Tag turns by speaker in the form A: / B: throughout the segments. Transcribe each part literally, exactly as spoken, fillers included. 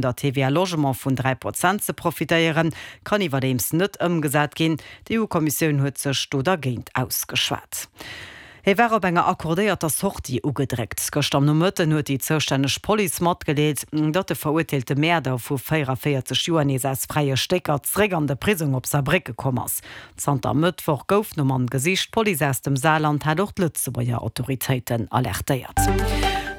A: der T V A Logement vun dräi Prozent ze profitéieren, kann iwwerdeems net ëmgesat ginn. D'E U-Kommissioun huet sech do dergéint ausgeschwat. Hie war op enger accordéierter Sortie ugedréckt. Gëschter am Nomëtten huet déi zoustänneg Police matgedeelt, datt de verurteelte Mäerder vu véieranvéierzeg Joer nees aus fräie Stécker zeréck an de Prisong op Saarbrécke komm ass. Zanter Mëttwoch gouf nom Mann gesicht. D'Police aus dem Saarland hat och d'Lëtzebuerger Autoritéiten alertéiert.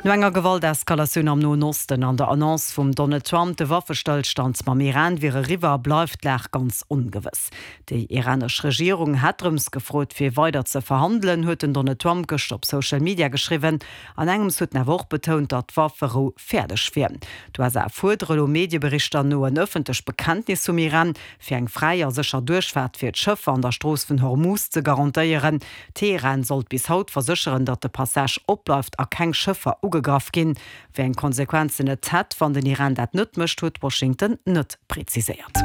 A: No enger Gewalteskalatioun am Noen Osten an der Annonce vum Donald Trump, de Waffestëllstand mam Iran wier eriwwer, bleift d'Lag ganz ongewëss. Déi iranesch Regierung hätt drëms gefrot, fir weider ze verhandelen, huet den Donald Trump gëschter op Social Media geschriwwen. An engems huet en awer och betount, datt d'Wafferou fäerdeg wier. D'U S A fuerdere lo Medieberichter no en ëffentlecht Bekenntnis vum Iran, fir eng fräi a sécher Duerchfaart fir d'Schëffer an der Strooss vun Hormuz ze garantéieren. Teheran sollt bis haut versécheren, datt de Passage opbleift a keng Schëffer ugegraff ginn. Wéi eng Konsequenzen et hätt, wann den Iran dat net mécht, huet Washington net präziséiert.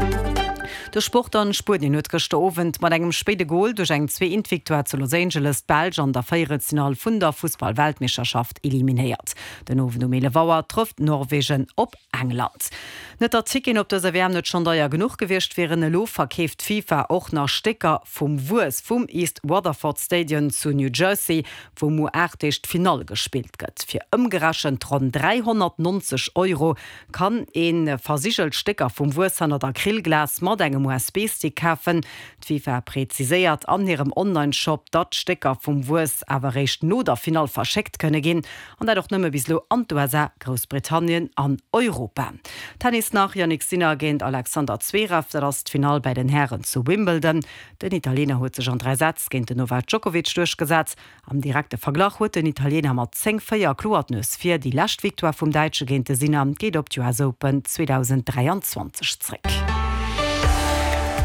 A: De Sport an: Spuenien huet gëschter Owend mat engem spéide Gol duerch eng zwee-eent-Victoire zu Los Angeles d'Belsch an der Véierelsfinall vun der Fussball-Weltmeeschterschaft eliminéiert. Den Owend um eelef Auer trëfft Norwegen op England. Net datt Ticketen op dëser W M net schonn deier genuch gewiescht wieren, elo verkeeft d'FIFA och nach Stécker vum Wues vum East Rutherford Stadion zu New Jersey, wou muer aacht Deeg d'Finall gespillt gëtt. Fir ëmgerechent ronn dräihonnertnonzeg Euro kann ee versigelt Stécker vum Wues hannert Acrylglas mat engem U S B-Stick kafen. D'FIFA präziséiert an hirem Online-Shop, datt d'Stécker vum Wues awer réischt no der Finall verschéckt kënne ginn, an dat och nëmme bis elo an d'U S A, Groussbritannien an Europa. Tennis nach: Jannik Sinner géint Alexander Zverev, dat ass d'Finall bei den Hären zu Wimbledon. Den Italiener huet sech an dräi Sätz géint den Novak Djokovic duerchgesat. Am direkte Verglach huet den Italiener mat zéng véier kloer d'Nues vir. Déi lescht Victoire vum Däitsche géint de Sinner geet op d'U S Open zweedausend dräianzwanzeg zréck.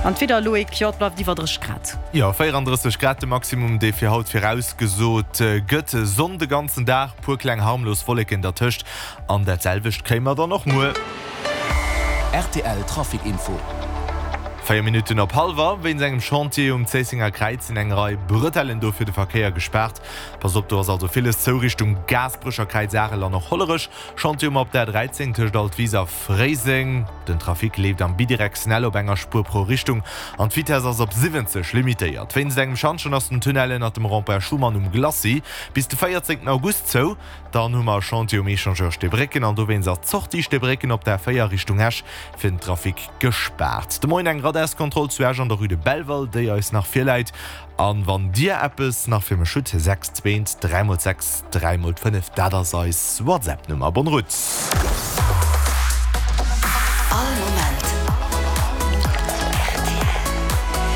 A: An d'Wieder, Loïc, jo, et bleift iwwer drësseg Grad.
B: Jo, véierandrësseg Grad de Maximum, dee fir haut virausgesot gëtt. Sonn de ganzen Dag, puer kleng harmlos Wolleken dertëscht an dat selwecht kréie mer dann och muer.
C: R T L Trafic Info.
B: Véier Minutten op hallwer. Wéinst engem Chantier um Zéissenger Kräiz sinn eng Rei Bretellen do fir de Verkéier gespaart. Pass op, do ass also villes zou Richtung Gaasperecher Kräiz, Arel an och Hollerech. Chantier um op der dräizéng tëscht Altwis a Fréiseng. Den Trafic leeft am bidirektionell op enger Spuer pro Richtung an d'Vitess ass op siwwenzeg limitéiert. Wéinst engem Schantjen ass den Tunnel ënnert dem Rond-point Schuman um Glacis bis de véierzéngten August zou. Dann hu mer e Chantier um Echangeur Steebrécken an dowéinst ass d'Sortie Steebrécken op der véier Richtung Esch fir den Trafic gespaart. De Moien eng Radarskontroll zu Esch an der Rue de Belval, déi eis nach virläit. An wann dir eppes nach fir mech hutt, sechs zwee dräi mol sechs dräi mol fënnef, dat ass eis WhatsApp-Nummer. Bonne route!
D: All Moment.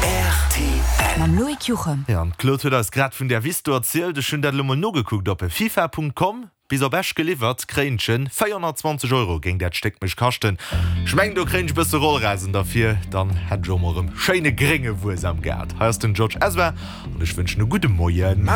B: R T L.
D: Mam Loïc Juchem.
B: Ja, an d'Claude huet eis grad vun där Wiss do erzielt. Ech hunn dat elo mol nogekuckt op fifa Punkt com. Bis op Esch geliwwert, kréien ech en véierhonnertzwanzeg Euro géing dat Stéck mech kaschten. Ech mengen, do kréien ech bësse Rollrasen derfir, dann hätt ech och mol erëm schéine grénge Wues am Gaart. Hei ass den George Ezra an ech wënschen e gudde Moien.